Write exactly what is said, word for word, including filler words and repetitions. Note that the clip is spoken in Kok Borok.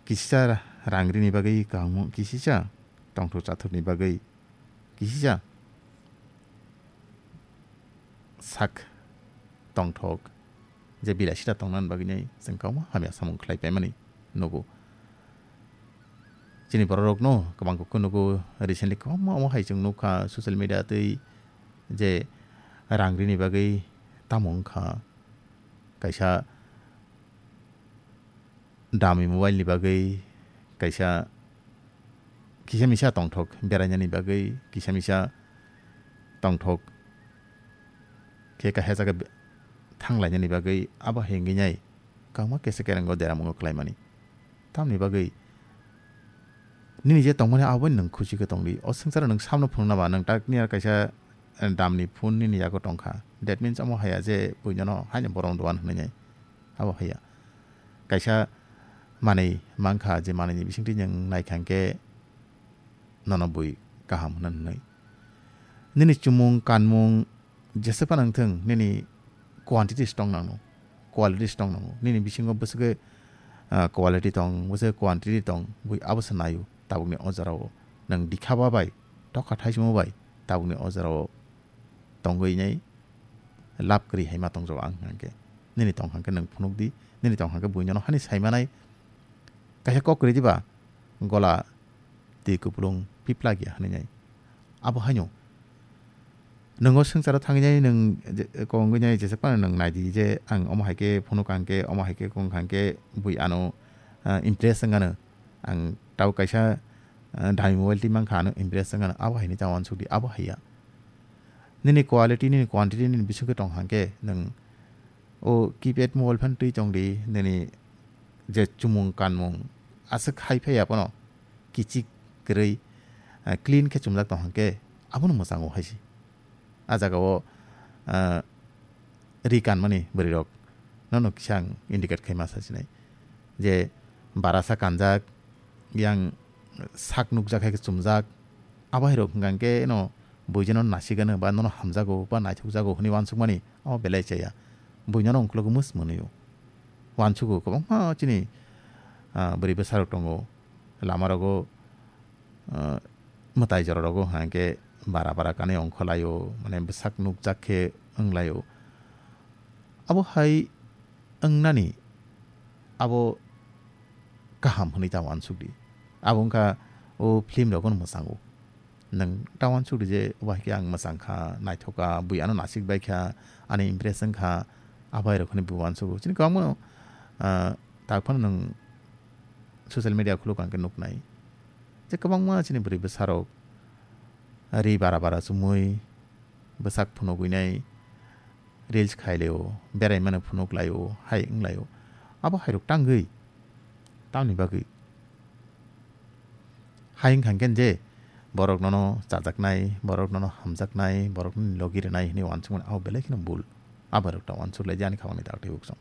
kisisa rang rini bagwi kaham, kisisa tongthok chathokni bagwi, kisisa sak tongthok je bilasita tongnani bagwi nai chwng kwbangma hamya samung khlai paimani nugo. Chini bororokno kwbang khe nugo, recently kwbangma omo hai chwng nukha social media tei je rang rini bagwi tamo wngkha kaisa dami mobile ni bagwi, kaisa kisa misa tongthok berainani bagwi, kisa misa tongthok khe kaisa jaga be-, thanglainani bagwi abo hai wngwi nai kwbangma kesa kerengo deramungo khlaimani. Tamni bagwi nini je tongmani abo nwng khusi khe tongdi. O swngcharo nwng samno phunukna ba nwng tak niya kaisa, eh, damni phone nini yago tongkha. That means omo haiya je buinono haino borok dogan hwnwi nai. Abo haiya. Kaisa manwi mankha, je manwini bisingtwi nwng naikha hwnkhe nono bui kaham hwnna hwnwi. Nini chumung, kanmung, jesa phano wngthung, nini quantities tong nango, qualities tong nango. Nini bisingo bwswkhe, ah, quality tong, bwswkhe quantity tong, bui abo se naio tabukni o jorao. Nwng dikhaba bai, tokha thaisimo bai, tabukni o jorao tongwi nai lab kwrwi hai ma tongjago ang hwnkhe. Nini tong hwnkhe nwng phunukdi, nini tong hwnkhe buinono hani saimanai kaisa kok kwrwi diba, gola twi kupulung piplak ya hwnwi nai. Abo haino nwng o swngcharo thangwi nai, nwng je, kongwi nai, jesa phano nwng naidi je ang omo hai khe phunuk ang khe, omo hai khe kong kha hwnkhe bui ano, ah, impress wng ano. Ang tabo kaisa, ah, dami mobile twi mankha, ano impress wng ano. Abo hai ni ta uansuk di, abo hai ya. Nini quality, nini quantity, nini bisingtwi tong hwnkhe nwng o keypad mobile phano twi tongdi, nini je chumung kanmung aswk hai phaiya phano kichik kwrwi, ah, clean khe chumjak tong hwnkhe abono mwchango hai se. A jagao, ah, ri kanmani bwrwirok nono kisa ang indicate khai ma sasinai je barasa kanjak, yang sak nukjak hai khe chumjak, abo hai rok hwnkha hwnkhe no buijano nasigano ba nono hamjago ba naithokjago hwnwi uansukmani abo belai chaya. Buinono ungkulugo mwsmwnwi o uansugo kwbangma chini, ah, bwrwi bwsarok tongo lamarogo, ah, mwtai jororogo hwnkha hwnkhe bara bara kanwi ongkholaio, mane bwsak nukjak khe wnglaio. Abo hai wngnani abo kaham hwnwi ta uansukdi. Abo wngkha o film rokno mwchango. Nwng ta uansukdi je obo hai khe ang mwchang kha, naithok kha, bui ano nasik bai kha, ani impress wng kha, abo hai rok hwnwi bo uansugo. Chini kwbangma, ah, tak phano nwng social media khuluk ang khe nuknai je kwbangma chini bwrwi bwsarok ri bara bara chumui, bwsak phunugwi nai, reels khai laio, berai mano phunuk laio, hai wng laio. Abo hai rok tangwi tamni bagwi? Hai wng kha hwnkhe je borok nono chajaknai, borok nono hamjaknai, borok nini logi rwnai hwnwi uansukmani abo belai kheno bul. Abo hai rok ta uansuk lai di ani kha mani tak tei uksong.